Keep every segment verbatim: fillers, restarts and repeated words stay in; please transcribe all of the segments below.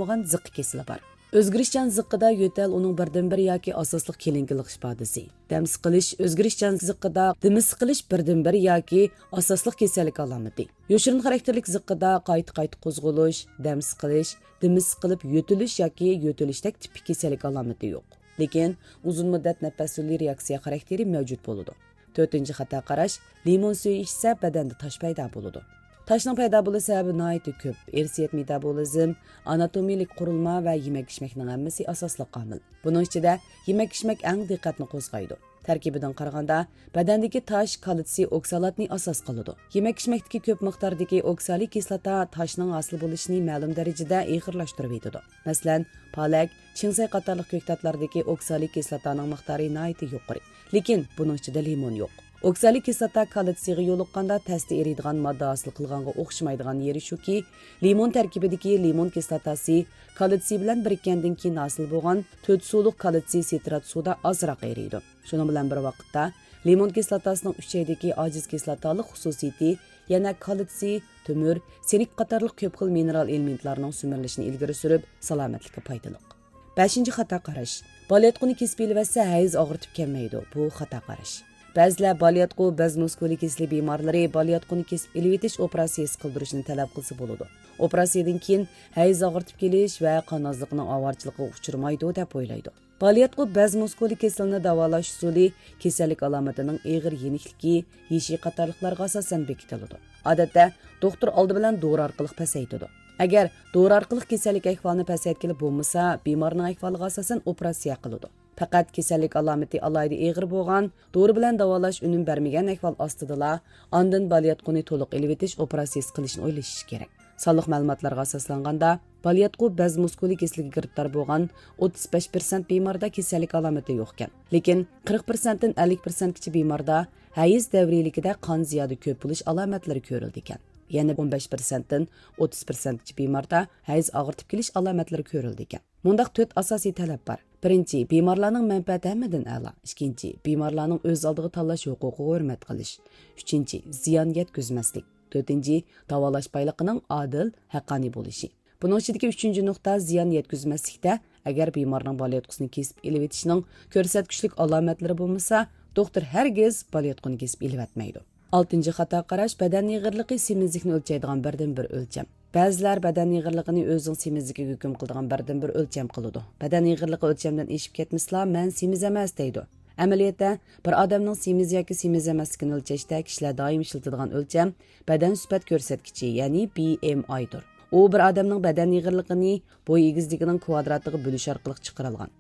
بولغان زىققا كېسىلى بار. ئۆزگىرىشچان زىققىدا يۆتەل ئۇنىڭ بىردىنبىر ياكى ئاساسلىق كېلىنكىلىق ئىپادىسى. دەم سىقىلىش، ئۆزگىرىشچان زىققىدا دېمى سىقىلىش بىردىنبىر ياكى ئاساسلىق كېسەللىك ئالامىتى. يوشۇرۇن خاراكتېرلىك زىققىدا قايتا-قايتا قوزغىلىش، دەم سىقىلىش، دېمى سىقىلىپ يۆتىلىش ياكى يۆتىلىشتەك تىپىك كېسەللىك ئالامىتى يوق. لېكىن ئۇزۇن مۇددەت نەپەس يولى رېئاكسىيە خاراكتېرى مەۋجۇت بولىدۇ. تۆتىنچى خاتا قاراش، لىمون سۈيى ئىچسە، بەدەندە تاش پەيدا بولىدۇ. تاشنىڭ پەيدا بولۇش سەۋەبى ناھايىتى كۆپ. ئىرسىيەت مېتابولىزم، ئاناتومىيىلىك قۇرۇلما ۋە يېمەك-ئىچمەكنىڭ ھەممىسى ئاساسلىق ئامىل. بۇنىڭ ئىچىدە يېمەك-ئىچمەك ئەڭ دىققەتنى قوزغايدۇ. تەركىبىدىن قارىغاندا، بەدەندىكى تاش كالتسىي ئوكسالاتنى ئاساس قىلىدۇ. يېمەك-ئىچمەكتىكى كۆپ مىقداردىكى ئوكسالىي كىسلاتا تاشنىڭ ھاسىل بولۇشىنى مەلۇم دەرىجىدە ئېغىرلاشتۇرۇۋېتىدۇ. مەسىلەن، پالەك، چىڭسەي قاتارلىق كۆكتاتلاردىكى ئوكسالىي كىسلاتانىڭ مىقدارى ناھايىتى يۇقىرى. لېكىن بۇنىڭ ئىچىدە لىمون يوق. ئوكسالىي كىسلاتا كالتسىيغا يولۇققاندا تەستە ئېرىيدىغان ماددا ھاسىل قىلغانغا ئوخشىمايدىغان يېرى شۇكى، لىمون تەركىبىدىكى لىمون كىسلاتاسى كالتسىي بىلەن بىرىككەندىن كېيىن ھاسىل بولغان تۆت سۇلۇق كالتسىي سىترات سۇدا ئازراق ئېرىيدۇ. شۇنىڭ بىلەن بىر ۋاقىتتا، لىمون كىسلاتاسىنىڭ ئۈچەيدىكى ئاجىز كىسلاتالىق خۇسۇسىيىتى يەنە كالتسىي، تۆمۈر، سىنك قاتارلىق كۆپ خىل مىنېرال ئېلېمېنتلارنىڭ سۈمۈرۈلۈشىنى ئىلگىرى سۈرۈپ، سالامەتلىككە پايدىلىق. بەشىنچى خاتا قاراش. بالىياتقۇنى كېسىپ ئېلىۋەتسە، ھەيز ئاغرىتىپ كەلمەيدۇ. بۇ خاتا قاراش. بەزىلەر بالىياتقۇ بەز مۇسكۇلى كېسىلى بىمارلىرى بالىياتقۇنى كېسىپ ئېلىۋېتىش ئوپېراتسىيىسى قىلدۇرۇشنى تەلەپ قىلسا بولىدۇ. ئوپېراتسىيىدىن كېيىن ھەيز ئاغرىتىپ كېلىش ۋە قان ئازلىقىنىڭ ئاۋارىچىلىقىغا ئۇچرىمايدۇ، دەپ ئويلايدۇ. بالىياتقۇ بەز مۇسكۇلى كېسىلىنى داۋالاش ئۇسۇلى كېسەللىك ئالامىتىنىڭ ئېغىر يېنىكلىكى، يېشى قاتارلىقلارغا ئاساسەن بېكىتىلىدۇ. ئادەتتە، دوختۇر ئالدى بىلەن دورا ئارقىلىق پەسەيتىدۇ. ئەگەر دورا ئارقىلىق كېسەللىك ئەھۋالىنى پەسەيتكىلى بولمىسا، بىمارنىڭ ئەھۋالىغا ئاساسەن ئوپېراتسىيە قىلىدۇ. پەقەت كېسەللىك ئالامىتى ئالاھىدە ئېغىر بولغان، دورا بىلەن داۋالاش ئۈنۈم بەرمىگەن ئەھۋال ئاستىدىلا، ئاندىن بالىياتقۇنى تولۇق ئېلىۋېتىش ئوپېراتسىيىسى قىلىشنى ئويلىشىش كېرەك. سانلىق مەلۇماتلارغا ئاساسلانغاندا، بالىياتقۇ بەز مۇسكۇلى كېسىلىگە گىرىپتار بولغان ئوتتۇز بەش پىرسەنت بىماردا كېسەللىك ئالامىتى يوقكەن. لېكىن قىرىق پىرسەنتتىن ئەللىك پىرسەنتكىچە بىماردا ھەيز دەۋرىيلىكىدە قان زىيادە كۆپ بولۇش ئالامەتلىرى كۆرۈلىدىكەن. يەنە ئون بەش پىرسەنتتىن ئوتتۇز پىرسەنتكىچە بىماردا ھەيز ئاغرىتىپ كېلىش ئالامەتلىرى كۆرۈلىدىكەن. مۇنداق تۆت ئاساسىي تەلەپ بار. بىرىنچى، بىمارلارنىڭ مەنپەئەتى ھەممىدىن ئەلا. ئىككىنچى، بىمارلارنىڭ ئۆز ئالدىغا تاللاش ھوقۇقىغا ھۆرمەت قىلىش. ئۈچىنچى، زىيان يەتكۈزمەسلىك. تۆتىنچى، داۋالاش بايلىقىنىڭ ئادىل، ھەققانىي بولۇشى. بۇنىڭ ئىچىدىكى ئۈچىنچى نۇقتا زىيان يەتكۈزمەسلىكتە، ئەگەر بىمارنىڭ بالىياتقۇسىنى كېسىپ ئېلىۋېتىشنىڭ كۆرسەتكۈچلۈك ئالامەتلىرى بولمىسا، دوختۇر ھەرگىز بالىياتقۇنى كېسىپ ئېلىۋەتمەيدۇ. ئالتىنچى خاتا قاراش، بەدەن ئېغىرلىقى سېمىزلىكنى ئۆلچەيدىغان بىردىنبىر ئۆلچەم. بەزىلەر بەدەن ئېغىرلىقىنى ئۆزىنىڭ سېمىزلىكىگە ھۆكۈم قىلىدىغان بىردىنبىر ئۆلچەم قىلىدۇ. بەدەن ئېغىرلىقى ئۆلچەمدىن ئېشىپ كەتمىسىلا، مەن سېمىز ئەمەس دەيدۇ. ئەمەلىيەتتە، بىر ئادەمنىڭ سېمىز ياكى سېمىز ئەمەسلىكىنى ئۆلچەشتە كىشىلەر دائىم ئىشلىتىدىغان ئۆلچەم بەدەن سۈپەت كۆرسەتكۈچى، يەنى بى ئېم ئايدۇر. ئۇ بىر ئادەمنىڭ بەدەن ئېغىرلىقىنى بوي ئېگىزلىكىنىڭ كۋادراتىغا بۆلۈش ئارقىلىق چىقىرىلغان.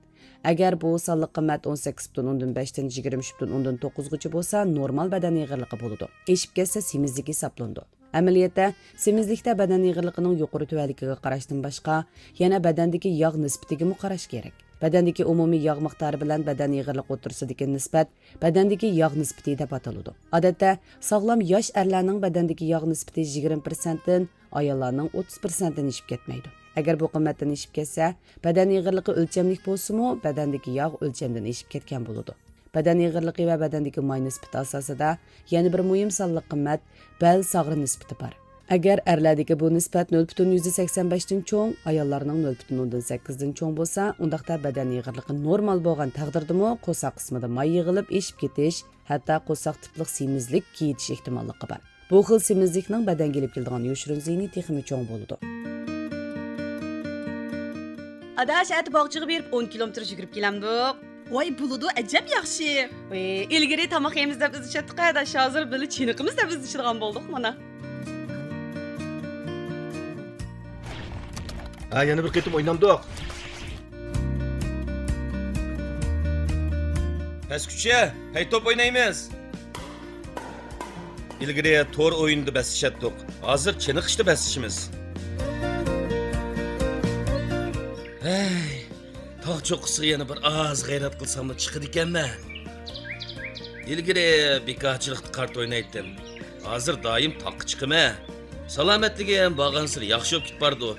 ئەگەر بۇ سانلىق قىممەت ئون سەككىز پۈتۈن ئوندىن بەشتىن يىگىرمە ئۈچ پۈتۈن ئوندىن توققۇزغىچە بولسا، نورمال بەدەن ئېغىرلىقى بولىدۇ. ئېشىپ كەتسە، سېمىزلىك ھېسابلىنىدۇ. ئەمەلىيەتتە، سېمىزلىكتە بەدەن ئېغىرلىقىنىڭ يۇقىرى تۆۋەنلىكىگە قاراشتىن باشقا، يەنە بەدەندىكى ياغ نىسبىتىگىمۇ قاراش كېرەك. بەدەندىكى ئومۇمىي ياغ مىقدارى بىلەن بەدەن ئېغىرلىقى ئوتتۇرىسىدىكى نىسبەت بەدەندىكى ياغ نىسبىتى دەپ ئاتىلىدۇ. ئادەتتە، ساغلام ياش ئەرلەرنىڭ بەدەندىكى ياغ نىسبىتى يىگىرمە پىرسەنتتىن، ئاياللارنىڭ ئوتتۇز پىرسەنتتىن ئېشىپ كەتمەيدۇ. ئەگەر بۇ قىممەتتىن ئېشىپ كەتسە، بەدەن ئېغىرلىقى ئۆلچەملىك بولسىمۇ، بەدەندىكى ياغ ئۆلچەمدىن ئېشىپ كەتكەن بولىدۇ. بەدەن ئېغىرلىقى ۋە بەدەندىكى ماي نىسبىتى ئاساسىدا يەنە بىر مۇھىم سانلىق قىممەت بەل ساغرا نىسبىتى بار. ئەگەر ئەرلەردىكى بۇ نىسبەت نۆل پۈتۈن يۈزدە سەكسەن بەشتىن چوڭ، ئاياللارنىڭ نۆل پۈتۈن ئوندىن سەككىزدىن چوڭ بولسا، ئۇنداقتا بەدەن ئېغىرلىقى نورمال بولغان تەقدىردىمۇ قورساق قىسمىدا ماي يىغىلىپ ئېشىپ كېتىش، ھەتتا قورساق تىپلىق سېمىزلىك كېيىتىش ئېھتىماللىقى بار. بۇ خىل سېمىزلىكنىڭ بەدەنگە ئېلىپ كېلىدىغان يوشۇرۇن زىيىنى تېخىمۇ چوڭ بولىدۇ. ئاداش، ئەتە باغچىغا بېرىپ ئون كىلومېتىر يۈگۈرۈپ كېلەمدۇق؟ ۋاي، بولىدۇ، ئەجەب ياخشى. ۋىي، ئىلگىرى تاماق يەيمىز دەپ ئىزدىشەتتۇق ئاداش، ھازىر بىللە چېنىقىمىز دەپ ئىزدىشىدىغان بولدۇق مانا. ھە، يەنە بىر قېتىم ئوينامدۇق؟ پەسكۈچە، پەي توپ ئوينايمىز. ئىلگىرى تور ئويۇنىدا بەسلىشەتتۇق، ھازىر چېنىقىشتا بەسلىشىمىز. ھەي، تاغ چوققىسىغا يەنە بىر ئاز غەيرەت قىلساممۇ چىقىدىكەنمەن. ئىلگىرى بىكارچىلىقتا قارت ئوينايتتىم، ھازىر دائىم تاغقا چىقىمەن. سالامەتلىكىم بارغانسېرى ياخشى بولۇپ كېتىپ بارىدۇ.